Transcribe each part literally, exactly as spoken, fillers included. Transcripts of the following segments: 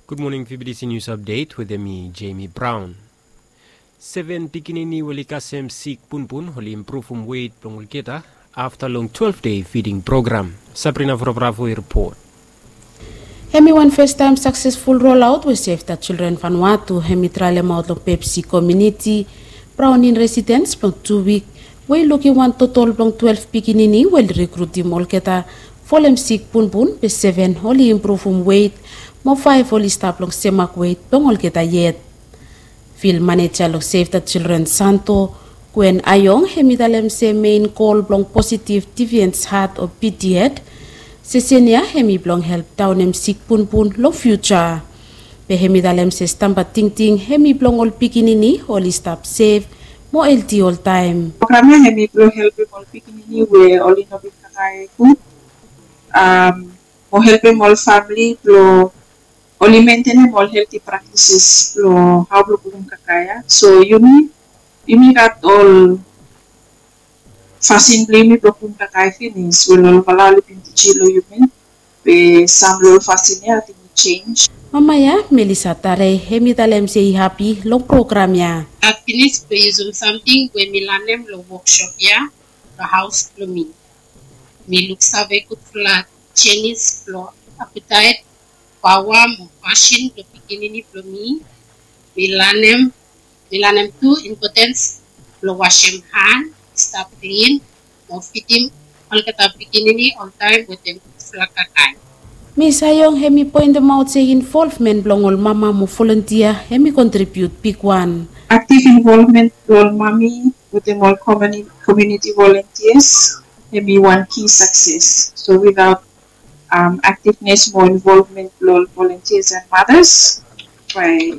Gud moning, V B T C News Update wetem mi, Jamie Brown. Seven pikinini we oli kasem sik punpun oli impruvum wet blong olgeta afta long twelve dei fiding program. Sabrina Vrabra fo i ripot. Hemi wan fastaem saksesful rolaot we Save the Children Vanuatu hemi traelemaot long Pepsi komuniti Browning residens blong tu wik, we i lukim wan totol blong twelve pikinini we oli rikrutim olgeta folem sik punpun, be seven oli impruvum wet, mo faef oli stap long semak wet blong olgeta yet. Fil maneja long Save the Children Santo, Gwen Ayong, hemi talem se mein gol blong positiv diviens hat o P D Ed sesen ya hemi blong help daonem sik punpun long fiuja. Be hemi talem se stamba tingting hemi blong ol pikinini oli stap sef mo elti oltaem. Program ya hemi blong helpem ol pikinini we oli no bin kakae gud, mo helpem ol famili blong oli mentenem ol helti praktises blong hao blong kukum kakae ya. So yumi, yumi gat ol fasin blong yumi blong kukum kakae finis we ol olfala oli bin tijim long yumi. Be sam long ol fasin ya ating i jenj. Mama ya, Melissa Tare, hemi talem se i hapi long program ya. Gat finis blong yusum samting we mi lanem long woksop ya long haos blong mi. Mi luksave gudfala jenis blong apetaet, paoa mo pasin blong pikinini blong mi. Mi lanem, mi lanem tu impotens blong wasem han, stap klin, mo fidim olgeta pikinini oltaem wetem gudfala kakae. Mis Ayong hemi poentemaot se involvmen blong ol mama mo volontia hemi kontribiut bigwan. Aktiv involvmen blong ol mami wetem ol komuniti volontias hemi wan ki sakses. So without aktivnes mo involvmen blong ol volontias and matas, bae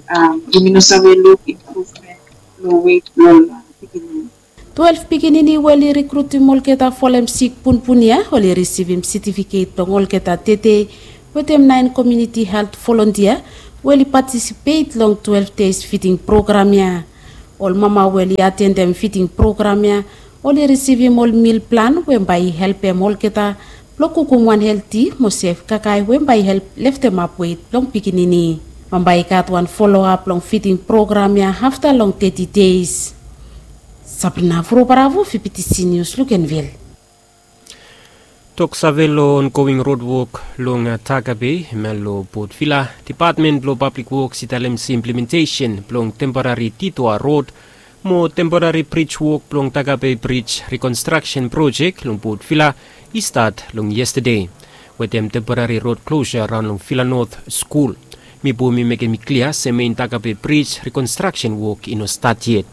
yumi no save luk impruvmen long wet blong ol pikinini. Twelve pikinini we oli rikrutim olgeta folem sik punpun ya oli risivim setifiket blong olgeta tede wetem naen komuniti helt volontia we oli patisipet long twelve deis fiding program ya. Ol mama we oli atendem fiding program ya oli risivim ol mil plan we bae i helpem olgeta blong kukum wan helti mo sef kakae we bae i help leftemap wet blong pikinini. Bae i gat wan foloap long fiding program ya afta long teti deis. Sabrina Vorobaravo, V B T C News, Lukenvil. Toksave long ongoing rodwok long Tagabe, hemia long Port Vila, Depatmen blong Pablik Woks i talem se implementesen blong temporari detour rod mo temporari brij wok blong Tagabe Brij Rekonstraksen Projek long Port Vila i stat long yestade wetem temporari rod klosa raon long Vila Not Skul. Mipo mi mekem i klia se mein Tagabe Brij rekonstraksen wok i no stat yet.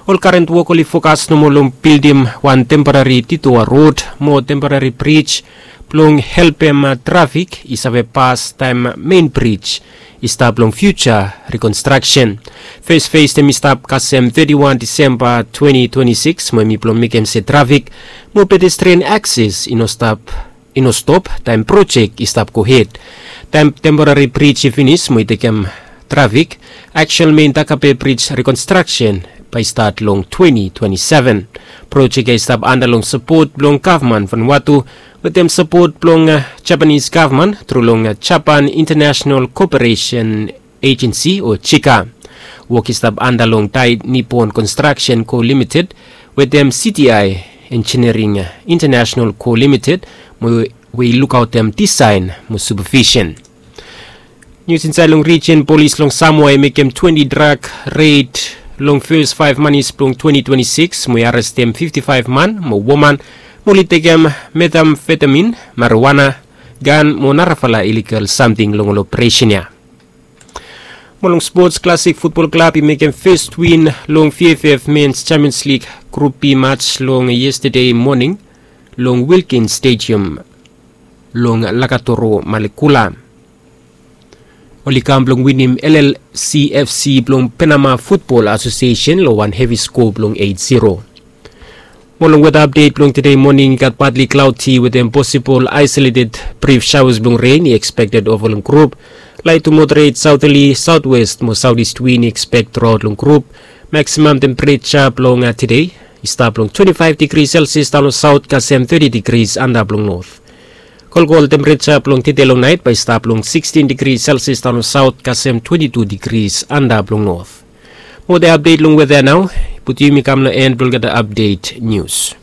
Ol karen wok oli fokas nomo long bildim wan temporari detour rod mo temporari brij blong helpem trafik i save pas taem mein brij i stap long fiuja rekonstraksen. Fes fes hem i stap kasem teti wan Disemba twenti twenti sikis mo hem i blong mekem se trafik mo pedestrian akses i no stap i no stop taem projek i stap gohed. Taem temporari brij i finis mo i tekem trafik, aksual mein Tagabe Brij rekonstraksen bae i stat long twenti twenti seven. Projek ya i stap anda long sapot blong gavman Vanuatu wetem sapot blong Japanis gavman tru long Japan International Koperesen Ejensi o JICA. Wok i stap anda long Dai Nippon Konstraksen Ko Limited wetem C T I Engineering International Ko Limited mo we i lukaotem disaen mo supavisen. Nius insaed long rijin, polis long Samoa i mekem twenti drak red long fes faef manis blong twenti twenti sikis mo i arestem fifti faef man mo woman mo oli tekem metamfetamin, marijuana, gan mo narafala iligal samting long ol operesen ya. Mo long spots, Classic Futbol Klab i mekem fes win long V F F Mens Champions League Grup B mats long yestade moning long Wilkins Stadium long Lakatoro, Malekula. Oli kam blong winim L L C F C blong Penama Futbol Asosiesen long wan hevi skoa blong eit ziro. Mo long weta apdet blong tede moning, i gat patli klaoti wetem posibol aesoleted brif saoas blong ren i ekspekted ova long grup. Lait tu moderet saoterli, saotwes mo saotist win i ekspek truaot long grup. Maksimam tempereja blong tede i stap long twenti faef digri Selsias daon long saot kasem teti digri antap long not. Kolkol tempereja blong tede long nait bae i stap long sikstin digri selsias daon long saot kasem twenti tu digris anda blong not. Mode apdet long weda nao. Putum yumi kam long en blong olgeta apdet nius.